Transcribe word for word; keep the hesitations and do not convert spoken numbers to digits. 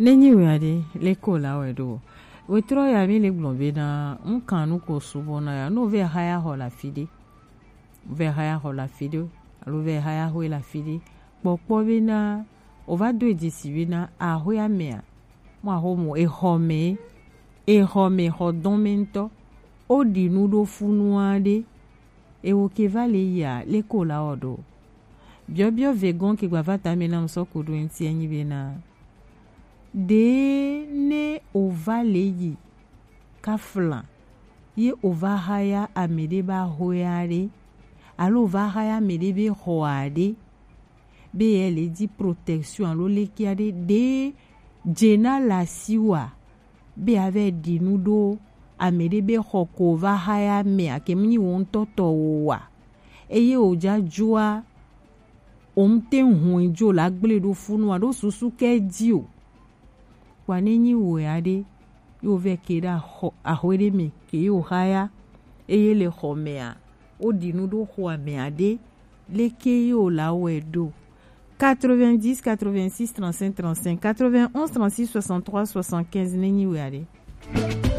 Ne nyi wea ɖe, leke wòle awɔe ɖo? Wetrɔ ya mi le gblɔ bena, ŋkan nu ko sugbɔ na ya, ne wovɛ haya xɔ le afi ɖe, wovɛ haya xɔ le afi ɖe, alo wovɛ haya xɔe le afi ɖe, kpɔkpɔ bena, wova do dzesi bena, axɔea mea, mo axɔ mo, exɔ me, exɔ me, xɔ dɔn me ŋutɔ, woɖi nu ɖo funu aɖe, ewo ke va le yia, leke wòle awɔ ɖo? Biɔbiɔ vegɔn ke gbava tame na ŋsɔ ku ɖo ŋuti enyi bena, ɖe ne wova le yi kafla ye wova haya ame ɖe be axɔea ɖe, alo wova haya ame ɖe be xɔa ɖe, be ye le di protection alo leke aɖe, ɖe dze na le asiwòa be yeava ɖi nu ɖo ame ɖe be xɔ ko wova haya amea, ke mu nyi wo ŋutɔ tɔ o wa? Eye wòdza dzoa, womte ŋu dzo le agble ɖo funu alo susu ke dzi o. Kpɔa ne nyi wò ya ɖe, ye wovɛ ke ɖe axɔ, axɔe ɖe me ke ye wòhaya, eye le xɔ mea, woɖi nu ɖo xɔa mea ɖe, leke ye wòle awɔe ɖo? Quatre-vingt-dix, quatre-vingt-six, trente-cinq, trente-cinq, quatre-vingt-onze, trente-six, soixante-trois, soixante-quinze, ne nyi wò ya ɖe.